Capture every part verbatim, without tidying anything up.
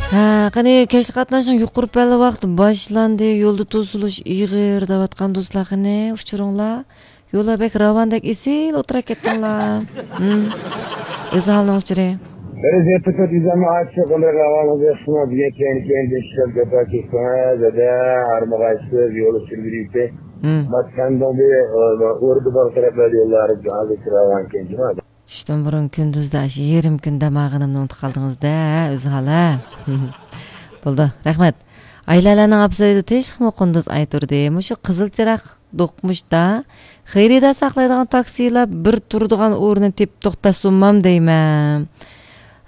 ھە، قېنى، كەچلىك قاتناشنىڭ يۇقىرى پەللە ۋاقتى باشلاندى، يولدا توسۇلۇش ئېغىر دەۋاتقان دوستلار، قېنى ئۇچۇرۇڭلار. يوللار بەك راۋاندەك ئېسىل ئولتۇراپ كەتتىڭلار. ھىم. ئۆزھالنىڭ ئۇچۇرى. بىر زەپتە كۆپ يۈزەمنى ئاچىق، ئۇنى راۋانىڭىز ياخشىمۇ؟ بۈگۈن كەينى كەينىدىن ئىشلەپ جاپا چەكتىڭىز، ھەدە، ھارمىغايسىز، يول ئۇچۇرى بېرىپتۇ. ھىم. مات سەندىڭدى، ئوردا باغ تەرەپلەردە يوللار ھازىر راۋانكەن جۇما. چۈشتىن بۇرۇن كۈندۈزدە ئاشۇ يېرىم كۈن دەم ئالغىنىمنى ئۇنتۇپ قالدىڭىز-دە، ھە، ئۆزھال، ھە؟ بولدى، رەھمەت. ئايلالارنىڭ ئاپىسى دەيدۇ، تېخىمۇ قۇندۇز ئاي تۇردى. مۇشۇ قىزىل چىراغ دوقمۇشتا خېرىدار ساقلايدىغان تاكسىلار بىر تۇرىدىغان ئورۇننى تېپىپ توختاتسۇنمام دەيمەن.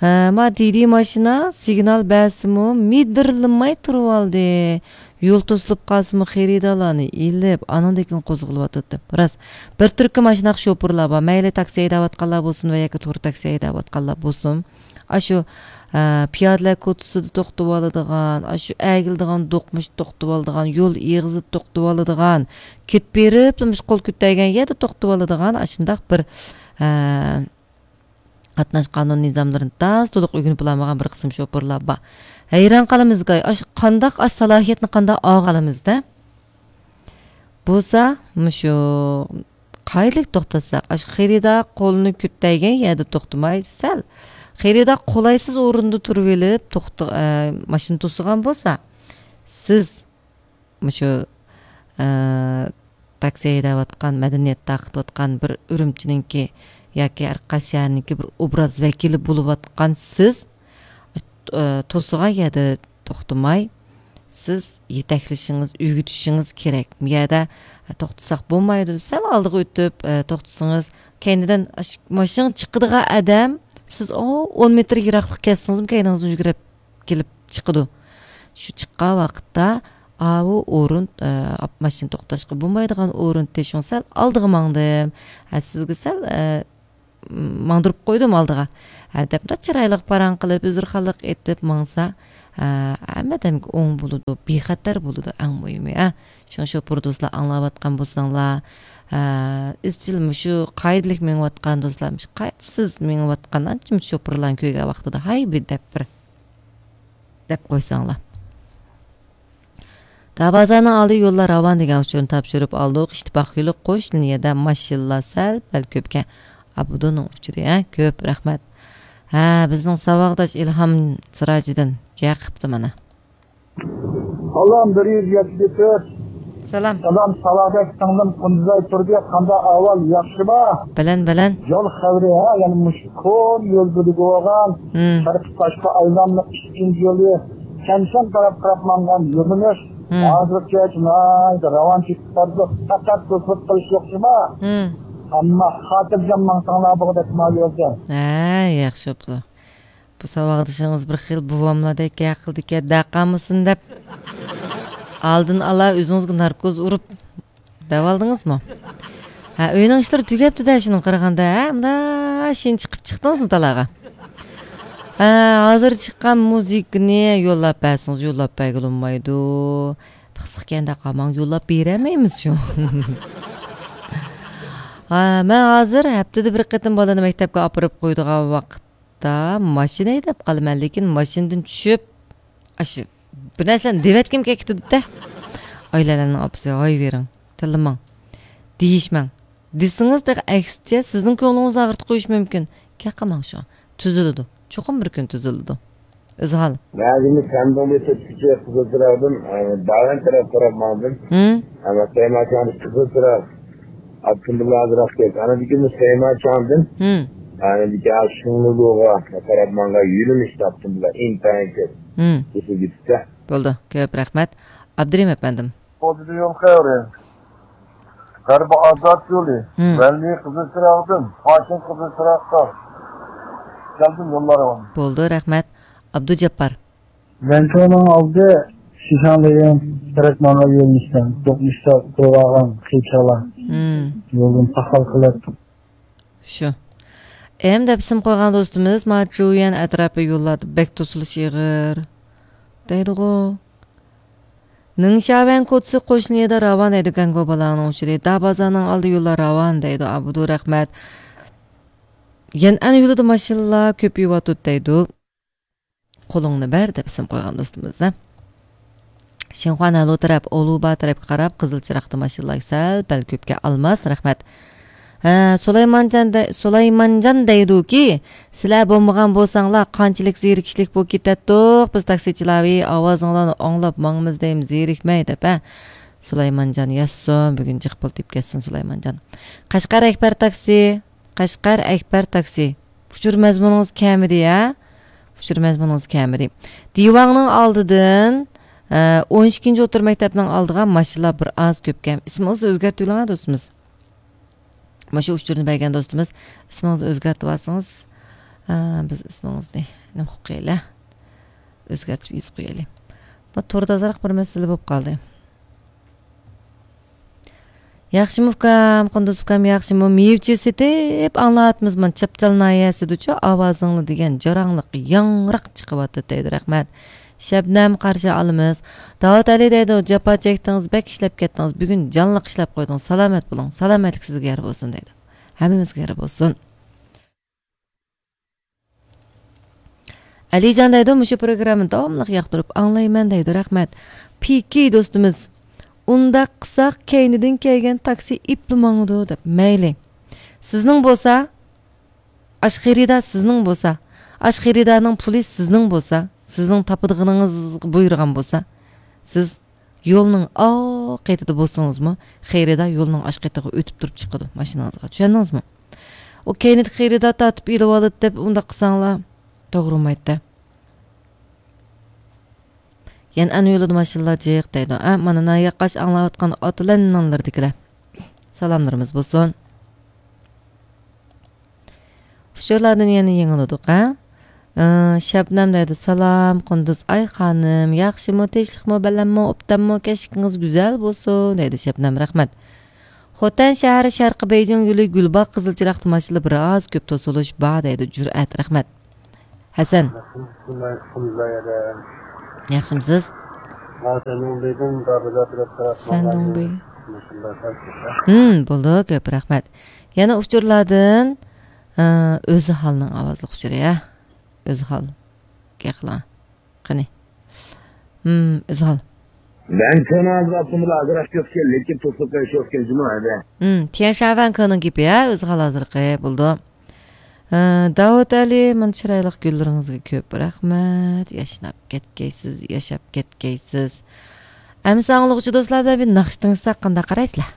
ھە، ما دىدى ماشىنا سىگنال بەرسىمۇ مىدىرلىماي تۇرۇۋالدى. يول توسۇلۇپ قالسىمۇ خېرىدارلارنى ئېلىپ، ئانىڭدىن كېيىن قوزغىلىۋاتاتتى. راست، بىر تۈركۈم ئاشۇنداق شوپۇرلار بار، مەيلى تاكسى ھەيدەۋاتقانلار بولسۇن ۋە ياكى تۇر تاكسى ھەيدەۋاتقانلار بولسۇن. ئاشۇ، ئە، پىيادىلەر كوچىسىدا توختىۋالىدىغان، ئاشۇ ئەگىلىدىغان دوقمۇشتا توختىۋالىدىغان، يول ئېغىزىدا توختىۋالىدىغان، كېتىپ بېرىپلا مۇشۇ قول كۆتەرگەن يەردە توختىۋالىدىغان ئاشۇنداق بىر، ئە، قاتناش قانۇن نىزاملىرىنى تاز تولۇق ئۆگىنىپ بولالمىغان بىر قىسىم شوپۇرلار بار. ھەيران قالىمىزغۇ، ئاش-، قانداق ئاش سالاھىيەتنى قانداق ئالغىلىمىزدە؟ بولسا، مۇشۇ قايىلىك توختاتساق، ئاشۇ خېرىدار قولىنى كۆتەيگەن يەردە توختىماي، سەل خېرىدار قولايسىز ئورۇندا تۇرۇۋېلىپ، توختا-، ئە، ماشىنا توسۇغان بولسا، سىز مۇشۇ، ئە، تاكسى ھەيدەۋاتقان، مەدەنىيەت تارقىتىۋاتقان بىر ئۈرۈمچىنىڭكى ياكى ھەر قايسى شەھەرنىڭكى بىر ئوبراز ۋەكىلى بولۇۋاتقان سىز، ئە، توسۇغان يەردە توختىماي، سىز يېتەكلىشىڭىز، ئۆگىتىشىڭىز كېرەك. بۇ يەردە، ئە، توختىساق بولمايدۇ دەپ سەل ئالدىغا ئۆتۈپ، ئە، توختىسىڭىز، كەينىدىن ئاش-، ماشىنا چىقىدىغان ئادەم، سىز ئۇ ئون مېتىر يىراقلىق كەتسىڭىزمۇ كەينىڭىزدىن يۈگۈرۈپ كېلىپ چىقىدۇ. شۇ چىققان ۋاقىتتا، ئاۋۇ ئورۇن، ئە، ئاپ-، ماشىنا توختاشقا بولمايدىغان ئورۇن تېشىڭ سەل ئالدىغا ماڭدىم. ھە، سىزگە سەل، ئە، ماڭدۇرۇپ قويدۇم ئالدىغا. ھە، دەپ چىرايلىق پاراڭ قىلىپ، ئۆزرىخانلىق ئېيتىپ ماڭسا، ھە، ھەممە ئادەمگە ئوڭ بولىدۇ، بىخەتەر بولىدۇ، ئەڭ مۇھىمى، ھە. شۇڭا شوپۇر دوستلار ئاڭلاۋاتقان بولساڭلار، ھە، ئىزچىل مۇشۇ قائىدىلىك مېڭىۋاتقان دوستلار، مۇشۇ قائىدىسىز مېڭىۋاتقان ئانچە مۇنچە شوپۇرلارنى كۆرگەن ۋاقتىدا، ھاي بىر دەپ بىر دەپ قويساڭلار. دابازارنىڭ ئالدى يوللار راۋان دېگەن ئۇچۇرنى تاپشۇرۇپ ئالدۇق. ئىتتىپاق يولى قوش لىنىيەدە ماشىنىلار سەل پەل كۆپكەن. ئابدۇنىڭ ئۇچۇرى، ھە، كۆپ رەھمەت. ھە، بىزنىڭ ساۋاقداش ئىلھام سىراجىدىن كەقىپتۇ مانا. سالام، بىر يۈز يەتتە تۆت. سالام. سالام، ساۋاقداش سىڭلىم قۇندۇزاي تۇردى، قانداق ئەھۋال، ياخشىما؟ بەلەن، بەلەن. يول خەۋىرى، ھە، يەنە مۇشۇ كونا يول بۆلىكى بولغان، ھىم. شەرقىي تاشقى ئايلانما ئىككىنچى يولى، شەمشەن تەرەپ قاراپ ماڭغان يۆنىلىش، ھىم. ھازىرغىچە ناھايىتى راۋان چېكىپ بارىدۇ. پەقەت توسۇلۇپ قېلىش يوق شۇما. ھىم. ئەمما خاتىرجەم ماڭساڭلار بولغۇدەك ما يولدا. ھە، ياخشى بوپتۇ. بۇ ساۋاقدىشىڭىز بىر خىل بوۋاملاردەك گەپ قىلىدىكەن، دەقالمىسۇن دەپ، ئالدىن ئالا ئۆزىڭىزگە ناركوز ئۇرۇپ دەۋالدىڭىزمۇ؟ ھە، ئۆينىڭ ئىشلىرى تۈگەپتۇ-دە، شۇنىڭغا قارىغاندا، ھە، مۇنداق شېنە چىقىپ چىقتىڭىزمۇ تالاغا؟ ھە، ھازىر چىققان مۇزىكىنى يوللاپ بەرسىڭىز، يوللاپ بەرگىلى بولمايدۇ. پىخسىقكەندە قالماڭ، يوللاپ بېرەلمەيمىز شۇ. ھە، مەن ھازىر ھەپتىدە بىر قېتىم بالىنى مەكتەپكە ئاپىرىپ قويىدىغان ۋاقىت. ھەتتا ماشىنا ھەيدەپ قالىمەن، لېكىن ماشىنىدىن چۈشۈپ، ئاشۇ بىر نەرسىلەرنى دېۋەتكۈم كېلىپ كېتىدۇ-دە. ئايلالارنىڭ ئاپىسى، ھاي بېرىڭ، تىللىماڭ، دېيىشمەڭ. دېسىڭىز تېخى ئەكسىچە سىزنىڭ كۆڭلىڭىزنى ئاغرىتىپ قويۇشى مۇمكىن. گەپ قىلماڭ شۇ. تۈزۈلىدۇ. چوقۇم بىر كۈن تۈزۈلىدۇ. ئۆزھال. مەن ھازىر سەندىن بىر تۆتكىچە قىزىل چىراغدىن، ئە، داۋەن تەرەپ قاراپ ماڭدىم. ھىم. ئەمما سەيماچاڭدىن قىزىل چىراغ ئاپتوموبىل ھازىراق كەلدى. ئاندىن كېيىن سەيماچاڭدىن، ھىم. ئاندىن كېيىن شىڭلۇلۇغا قاراپ ماڭغان يۆنىلىشتە ئاپتوموبىللار ئىنتايىن كۆپ. ھىم. بولدى، كۆپ رەھمەت. ئابدۇرېھىم ئەپەندىم. بولدى، يول خەۋىرى. غەربىي ئازاد يولى. ھىم. ۋەلىي قىزىل چىراغدىن، قاسىم قىزىل چىراغقا كەلدىم، يوللار راۋان. بولدى، رەھمەت. ئابدۇجاپپار. ۋەنچۇنىڭ ئالدى شىشاڭلىيىڭ تەرەپ ماڭغان يۆنىلىشتە، دوقمۇشتا تۇرۇۋالغان قىيچالا. ھىم. يولدىن پاخال قىلىپ. شۇ. ئەمدى دەپ ئىسىم قويغان دوستىمىز، ما جۇيۈەن ئەتراپى يوللاردا بەك توسۇلۇش ئېغىر دەيدىغۇ. نىڭشياۋەن كوچىسى قوشنا يەردە راۋان دەيدۇ، گەڭگو بالاڭنىڭ ئۇچۇرى. دابازارنىڭ ئالدى يوللار راۋان دەيدۇ، ئابدۇ رەھمەت. يەنئەن يولىدا ماشىنىلار كۆپىيىۋاتىدۇ دەيدۇ. قولۇڭنى بەر دەپ ئىسىم قويغان دوستىمىز. شىنخۇا نەلۇ تەرەپ، ئولۇبا تەرەپكە قاراپ قىزىل چىراغدا ماشىنىلار سەل پەل كۆپكەن. ئالماس، رەھمەت. ھە، سۇلايمانجان دە-، سۇلايمانجان دەيدۇكى، سىلەر بولمىغان بولساڭلار قانچىلىك زېرىكىشلىك بولۇپ كېتەتتۇق بىز تاكسىچىلار، ئاۋازىڭلارنى ئاڭلاپ ماڭىمىز دەيمىز زېرىكمەي دەپ، ھە. سۇلايمانجان ياشىسۇن، بۈگۈن جىق پۇل تېپىپ كەتسۇن سۇلايمانجان. قەشقەر ئەكبەر تاكسى، قەشقەر ئەكبەر تاكسى. ئۇچۇر مەزمۇنىڭىز كەمىدى، ھە؟ ئۇچۇر مەزمۇنىڭىز كەمىدى. دىۋاڭنىڭ ئالدىدىن، ئە، ئون ئىككىنچى ئوتتۇرا مەكتەپنىڭ ئالدىغا ماشىنىلار بىر ئاز كۆپكەن. ئىسمىڭىزنى ئۆزگەرتىۋېلىڭ، ھە، دوستىمىز. مۇشۇ ئۇچۇرنى بەرگەن دوستىمىز، ئىسمىڭىزنى ئۆزگەرتىۋالسىڭىز، ئە، بىز ئىسمىڭىزنى نېمە قىلىپ قويايلى؟ ئۆزگەرتىپ يېزىپ قويايلى. بۇ توردا ئازراق بىر مەسىلە بولۇپ قالدى. ياخشىمۇ ئۇكام، قۇندۇز ئۇكام ياخشىمۇ؟ مېۋە-چېۋە سېتىپ ئاڭلاۋاتىمىز، مانا چاپچال ناھىيەسىدىچۇ ئاۋازىڭلار دېگەن جاراڭلىق ياڭراق چىقىۋاتىدۇ دەيدۇ، رەھمەت. شەبنەم قارشى ئالىمىز. داۋۇت ئەلى دەيدۇ، جاپا چەكتىڭىز، بەك ئىشلەپ كەتتىڭىز، بۈگۈن جانلىق ئىشلەپ قويدۇڭ، سالامەت بولۇڭ، سالامەتلىك سىزگە يار بولسۇن دەيدۇ. ھەممىمىزگە يار بولسۇن. ئەلىجان دەيدۇ، مۇشۇ پروگراممىنى داۋاملىق ياقتۇرۇپ ئاڭلايمەن دەيدۇ، رەھمەت. پىكى دوستىمىز، ئۇنداق قىلساق كەينىدىن كەلگەن تاكسى ئېپلا ماڭىدۇ دەپ. مەيلى. سىزنىڭ بولسا، ئاش خېرىدار سىزنىڭ بولسا، ئاش خېرىدارنىڭ پۇلى سىزنىڭ بولسا، سىزنىڭ تاپىدىغىنىڭىزغا بۇيرۇغان بولسا، سىز يولنىڭ ئاق قېتىدا بولسىڭىزمۇ، خېرىدار يولنىڭ ئاش قېتىغا ئۆتۈپ تۇرۇپ چىقىدۇ ماشىنىڭىزغا. چۈشەندىڭىزمۇ؟ ئۇ كەينىدىكى خېرىدار تارتىپ ئېلىۋالىدۇ دەپ ئۇنداق قىلساڭلار توغرا بولمايدۇ. يەنئەن يولىدا ماشىنىلار جىق دەيدۇ. ئە، مانا ناياققاش ئاڭلاۋاتقان ئاتىلەننىڭلىرىدىكىلەر. سالاملىرىمىز بولسۇن. ئۇچۇرلاردىن يەنە يېڭىلىدۇق، ھە؟ ئى، شەبنەم دەيدۇ، سالام، قۇندۇز ئاي خانىم، ياخشىمۇ، تىنچلىقمۇ، بەلەنمۇ، ئوبدانمۇ، كەچلىكىڭىز گۈزەل بولسۇن، دەيدۇ شەبنەم، رەھمەت. خوتەن شەھىرى شەرقىي بېيجىڭ يولى گۈلباغ قىزىل چىراغدا ماشىنىلار بىر ئاز كۆپ توسۇلۇش بار، دەيدۇ جۈرئەت، رەھمەت. ھەسەن. ياخشىمۇسىز؟ سەندۇڭبېي. ھىم، بولدى، كۆپ رەھمەت. يەنە ئۇچۇرلاردىن، ئى، ئۆزھالنىڭ ئاۋازلىق ئۇچۇرى، ھە؟ ئۆزھال. گەپ قىلىڭ. قېنى. ھىم، ئۆزھال. 南科呢，是吧？这么大个，就是跟，就是跟什么来着？ ھىم، تيەنشاۋەن كېنىڭ گېپى، ھە؟ ئۆزھال ھازىرقى، بولدى. ئى، داۋۇت ئەلى، مانا چىرايلىق گۈللىرىڭىزگە كۆپ رەھمەت. ياشناپ كەتكەيسىز، ياشاپ كەتكەيسىز. ئەمسە ئاڭلىغۇچى دوستلار بىلەن بىر ناخشا تىڭشىساق قانداق قارايسىلەر؟